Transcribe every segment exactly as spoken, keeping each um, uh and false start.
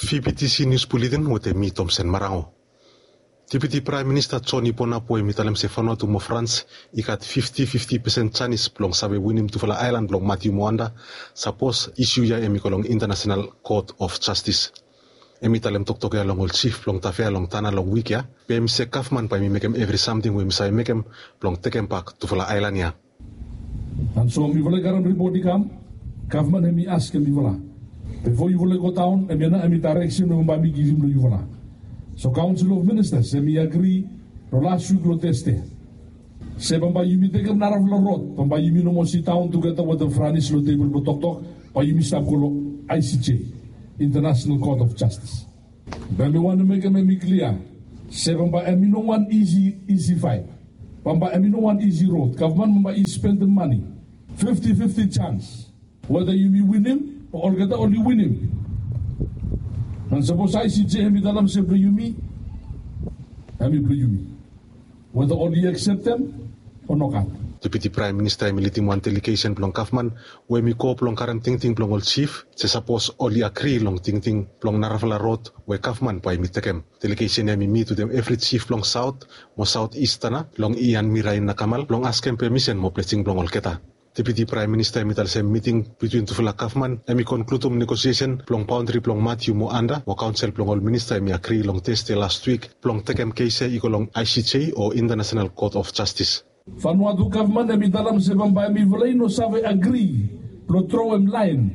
Fifty C News Bulletin wetem mi Tomsen Marango. Deputi Praem Minista John Iponap we hemi talem se Vanuatu mo Frans i gat fifty fifty pesen janis blong save winim tufala aelan blong Matiu mo Anda sapos isiu ya hemi go long International Court of Justice. Hemi talem toktok ya long ol jif blong Tafea long Tana long wik ya, be hemi se gavman bae hemi mekem evri samting we hemi save mekem blong tekembak tufala aelan ya. And so mifala i karem ripot i kam, gavman hemi askem mifala, bifo yufala i go daon, hemia nao hemi daereksen we bambae mi givim long yufala. So Council of Ministers hemi agri long las wik long Tasde se bambae yumi tekem narafala rod, bambae yumi no moa sidaon tugeta wetem Franis long tebol blong toktok, bae yumi stap go long I C J, International Court of Justice. Be mi wantem mekem hemi klia se bambae hemi no wan isi, isi faet. Bambae hemi no wan isi rod. Gavman bambae i spendem mane. Fifti fifti jans. Weta yumi winim o olgeta oli winim. And sapos I C J hemi talem se blong yumi, hemi blong yumi. Weta oli akseptem o nogat. Deputi Praem Minista hemi lidim wan delegesen blong gavman we hemi go blong karem tingting blong ol jif se sapos oli agri long tingting blong narafala rod we gavman bae hemi tekem. Delegesen ya hemi mit wetem evri jif blong Saot mo Saot Is Tana long Ian Mirain Nakamal blong askem pemisen mo blesing blong olgeta. Deputi Praem Minista hemi talsem miting bitwin tufala gavman hemi konkludum negosiesen blong baondri blong Matiu mo Anda mo kaonsel blong ol minista hemi agri long Tasde las wik blong tekem kes ya i go long I C J o International Court of Justice. Vanuatu gavman hemi talem se bambae mifala i no save agri blong troem laen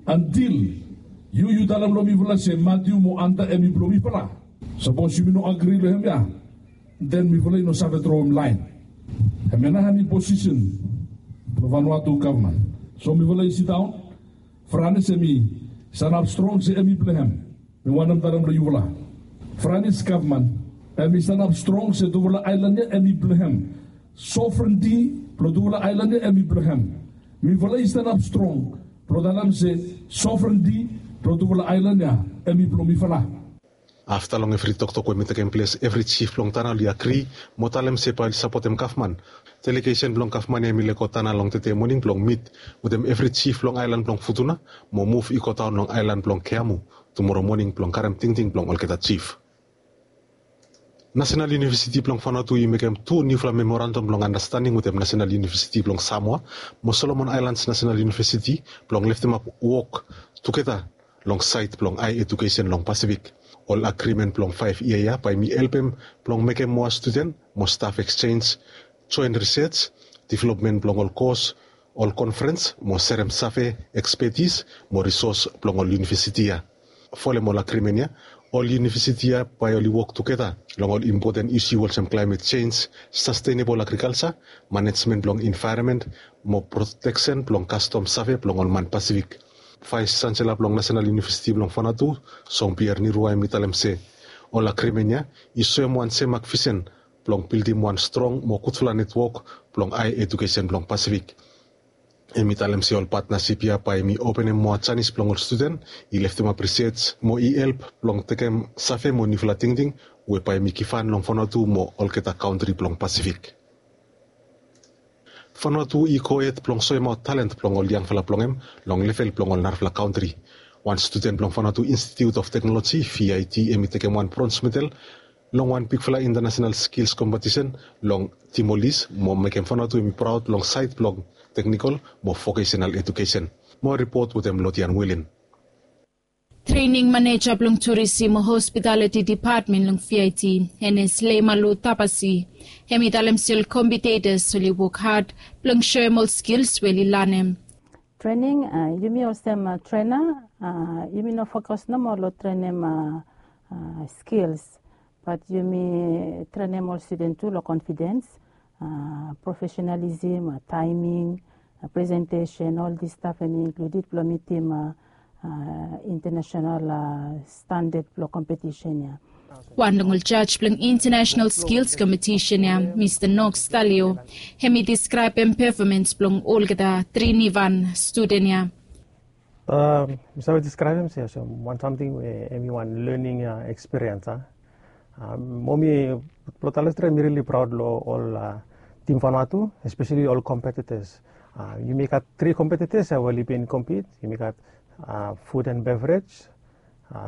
antil yu yu talem long mifala se Matiu mo Anda hemi blong mifala. Sapos yumi no agri long hemia, den mifala i no save troem laen. Hemia nao hemi posisen blong Vanuatu gavman. So mifala i sidaon. Franis hemi sanap strong se hemi blong hem. Mi wantem talem long yufala, Franis gavman hemi sanap strong se tufala aelan ya hemi blong hem. Sovrenti blong tufala aelan ya hemi blong hem. Mifala i sanap strong blong talem se sovrenti blong tufala aelan ya hemi blong mifala. Afta long evri toktok we hemi tekem ples, evri jif blong Tana oli agri mo talem se bae oli sapotem gavman. Delegesen blong gavman ya hemi lego Tana long tede moning blong mit wetem evri jif long aelan blong Futuna mo muv i godaon long aelan blong Keamu tumoro moning blong karem tingting blong olgeta jif. Nasenal Iunivesiti blong Vanuatu i mekem tu niufala memorandam blong andastanding wetem Nasenal Iunivesiti blong Samoa mo Solomon Aelans Nasenal Iunivesiti blong leftemap wok tugeta long saed blong ae ejukesen long Pasifik. Ol agrimen blong faef yia ya bae hemi helpem blong mekem moa studen mo staf eksjenj, joen risej, developmen blong ol kos, ol konferens mo serem save, ekspetis mo risos blong ol iunivesiti ya. Folem ol agrimen ya, ol iunivesiti ya bae oli wok tugeta long ol impoten isiu olsem klaemet jenj, sastenebol agrikalja, manejmen blong envaeronmen mo proteksen blong kastom save blong ol man Pasifik. Vaes Jansela blong Nasenal Iunivesiti blong Vanuatu, Jean Pierre Nirua, hemi talem se ol agrimen ya i soem wan semak visen blong bildim wan strong mo gudfala netwok blong ae ejukesen blong Pasifik. Hemi talem se ol patnasip ya bae hemi openem moa janis blong ol studen i leftemap risej mo i help blong tekem save mo niufala tingting we bae hemi givhan long Vanuatu mo olgeta kantri blong Pasifik. Vanuatu i gohed blong soemaot talent blong ol yangfala blong hem long level blong ol narafala kantri. Wan studen blong Vanuatu Institute of Technology, V I T, hemi tekem wan brons medal long wan bigfala intanasenal skils kompetisen long Timor-Leste mo mekem Vanuatu hemi praod long saed blong teknikol mo vokesenal ejukesen. Moa ripot wetem Lodian Wilin. Trening maneja blong Turisim mo Hospitaliti Depatmen long V I T, Enes Leimalu Tapasi, hemi talem se ol kompidetas oli wok had blong soem ol skils we oli lanem. Trening, a, yumi olsem, a, trena, a, yumi no fokus nomo long trenem, a, a, skils, bat yumi trenem ol studen tu long konfidens, a, profesenalisem, a, taeming, a, presentesen, ol dis staf hemi inkluded blong mitim, a, a, intanasenal, a, standad blong kompetisen ya. Wan long ol jaj blong International Skills Competition ya, Mista Knox Talio, hemi deskraebem pefomans blong olgeta tri niufala studen ya. A, mi save deskraebem se olsem wan samting we hemi wan lening, a, ekspiriens, a. A, mo mi, blong talem stret, mi rili praod long ol, a, tim Vanuatu, espeseli ol kompetitas. A, yumi gat tri kompetitas ya we oli bin kompit. Yumi gat, a, food and beverage,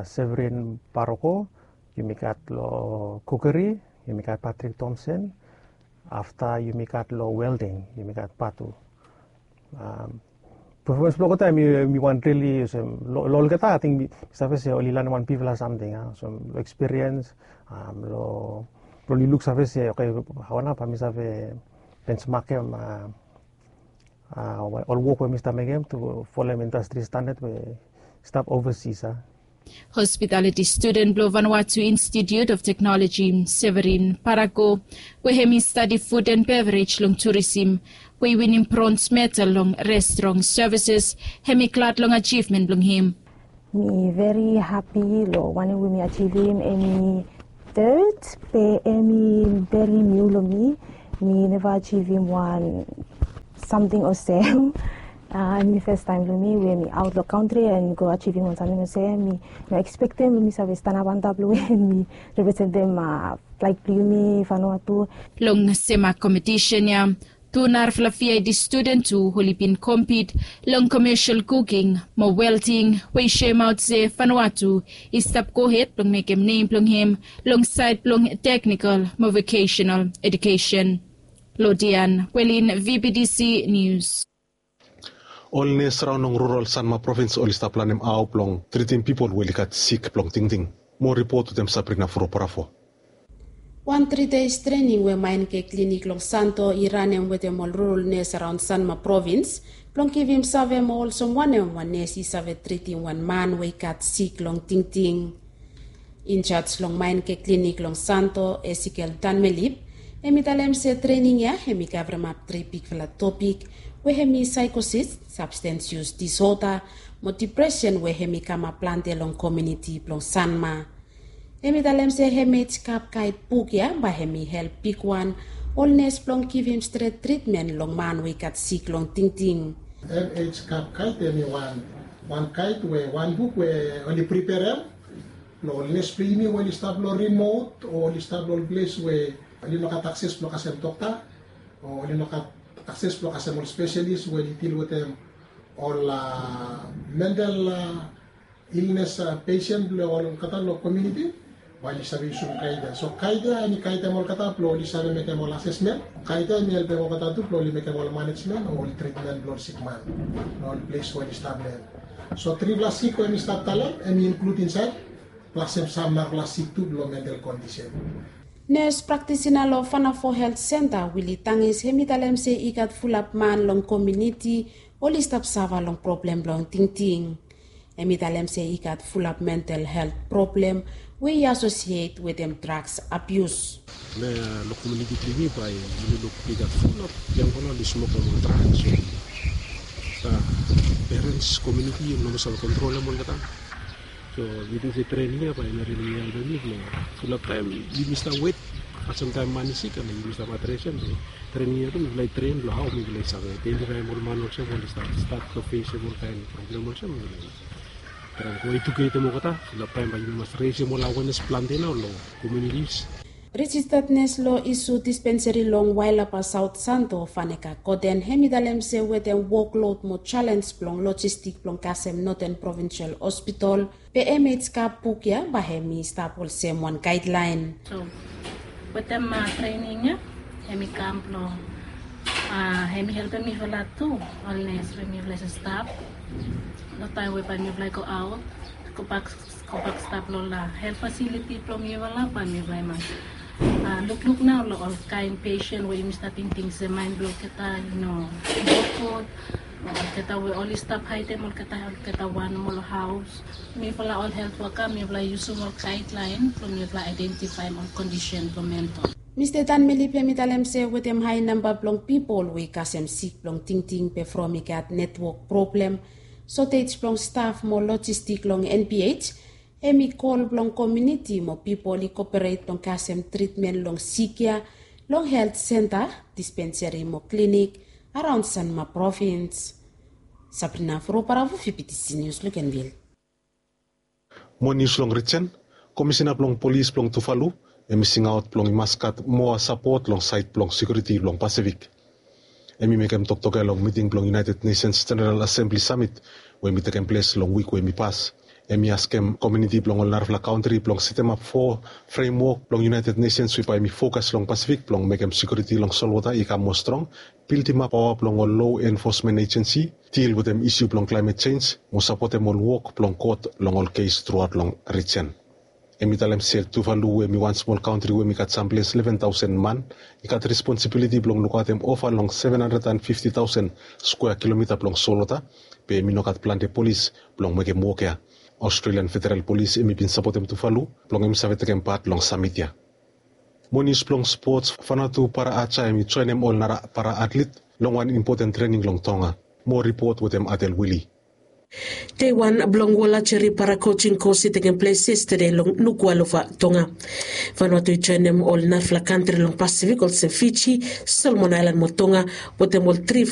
Severin Paroko, yumi gat long kukeri, yumi gat Patrick Thompson, afta yumi gat long welding, yumi gat Patu. Performance blong olgeta mi wan rili olsem long olgeta ating mi save se oli lanem wan bigfala samting a olsem long ekspiriens long oli luk save se oke, hao nao bae mi save bensmakem ol wok we mi stap mekem tu folem indastri standad we stap ovasis a. Hospitaliti studen blong Vanuatu Institute of Teknoloji, Severin Parako, we hem i stadi fud en beverage long turisim, we i winim brons medal long restrong sevises, hem i glad long ajivmen blong hem. Mi veri hapi long wanem we mi ajivim, em i tet be em i veri niu long mi. Mi neva ajivim wan samting olsem. Em i fes taem blong mi we mi aot long kantri en mi go ajivim wan samting olsem. Mi no ekspektem blong mi save stanap antap long we mi representem flag blong yumi Vanuatu. Long sem kompetisen ya, tu narafala V I D studen tu oli bin kompit long komesel kuking mo welding, we i soemaot se Vanuatu i stap gohed blong mekem nem blong hem long saed blong teknikol mo vokesenal edukesen. Lodian Welin, V B T C Nius. Ol nes raon long rural Sanma provins oli stap lanem hao blong tritim pipol we oli gat sik blong tingting. Moa ripot wetem Sabrina Furo Parafo. Wan tri deis trening we Maenke Klinik long Santo i ranem wetem ol rural nes araon Sanma provins blong givim save mo olsem wanem wan nes i save tritim wan man we i gat sik long tingting. Injaj long Maenke Klinik long Santo, Esikel Tanmelip, hem i talem se trening ya hem i kavremap tri bigfala topik, we hem i saekosis, sabstens yus disoda, mo dipresen we hem i kamap plante long komuniti blong Sanma. Hem i talem se hem ej kap kaet buk ya bae hem i help bigwan ol nes blong givim stret tritmen long man we i gat sik long tingting. Hem ej kap kaet hem i wan wan kaet we wan buk we oli priperem long ol nes blong yumi we oli stap long rimot o oli stap long ol ples we oli no gat akses blong kasem dokta o oli no gat akses blong kasem ol spesalis we oli dil wetem ol mental ilnes pesen blong olgeta long komuniti, bae oli save yusum kaet ya. So kaet ya hem i kaetem olgeta blong oli save mekem ol asesmen. Kaet ya hem i helpem olgeta tu blong oli mekem ol manejmen o ol tritmen blong ol sikman long ol ples we oli stap long hem. So trifala sik we hem i stap talem hem i inklud insaed, plas hem sam narafala sik tu blong mental kondisen. Nes praktisina long Vanafo Helt Senta, Wili Tangis, hem i talem se i gat fulap man long komuniti oli stap safa long problem blong tingting. Hem i talem se i gat fulap mental helt problem we i asosiet wetem draks abius. Long komuniti blong yumi bae yumi luk i gat fulap yangfala oli smokem ol draks. Perens, komuniti yumi no moa save kontrolem olgeta. So mi ting se trening ya bae i no rili helpem yumi blong fulap taem yumi stap wet, kasem taem man i sik, yumi stap adresem. Trening ya tu mifala i tren blong hao mifala i save aedentifaem ol man olsem oli stap stat blong fesem ol kaen problem olsem, mifala i traem go eduketem olgeta. Fulap taem bae yumi mas resem ol awenes plante nao long komunitis. Rejistad nes long isu dispenseri long Wailapa Saot Santo, Faneka Koten, hem i talem se wetem woklod mo jalens blong lojistik blong kasem Noten Provinsel Hospitol, be hem ej kap buk ya bae hem i stap olsem wan gaedlaen. So wetem trening ya hem i kam blong hem i helpem mifala tu, ol nes we mifala i stap long taem we bae mifala i go aot, gobak gobak stap long ol helt fasiliti blong mifala, bae mifala i mas lukluk nao long ol kaen pesen we yumi stap tingting se maen blong olgeta i no gud. Olgeta we oli stap haedem olgeta, olgeta wan mo long haos. Mifala ol helt woka mifala i yusum ol gaedlaen blong mifala aedentifaem ol kondisen blong mental. Mista Tanmelip hem i talem se wetem hae namba blong pipol we i kasem sik blong tingting be from i gat netwok problem, sotej blong staf mo lojistik long N P H, hem i kol blong komuniti mo pipol i koporet blong kasem tritmen long sik ya long helt senta, dispenseri mo klinik araon Sanma provins. Sabrina Furo Parafo, V B T C Nius, Luganville. Moa nius long rijen. Komisena blong polis blong Tuvalu hem i singaot blong i mas gat moa sapot long saed blong sekiuriti blong Pasifik. Hem i mekem toktok ya long miting blong United Nations General Assembly Summit we hem i tekem ples long wik we hem i pas. Em i askem komiuniti blong ol narafala kantri blong setemap fo fremwok blong United Nations we bae em i fokas long Pasifik blong mekem sekiuriti long solwota i kam moa strong, bildimap paoa blong ol lo enfosmen ejensi, dil wetem isu blong klaemet jenj, mo sapotem ol wok blong kot long ol kes truaot long rijen. Em i talem se Tuvalu we em i wan smol kantri we em i gat samples leven taosen man, i gat responsibiliti blong lukaotem ova long seven hundred and fifty thousand square kilomita blong solwota, be em i no gat plante polis blong mekem wok ya. Australian Federal Polis em i bin sapotem Tuvalu blong em i save tekem pat long samit ya. Mo nius blong spots, Vanuatu para Aja em i joenem ol nara para atlit long wan impoten trening long Tonga. Mo ripot wetem Adel Wili. Dei wan blong Wol Ajeri Para Kojing Kos i tekem ples yestede long Nuku'alofa, Tonga. Vanuatu i joenem ol narafala kantri long Pasifik olsem Fiji, Solomon Aelan mo Tonga, wetem ol trifala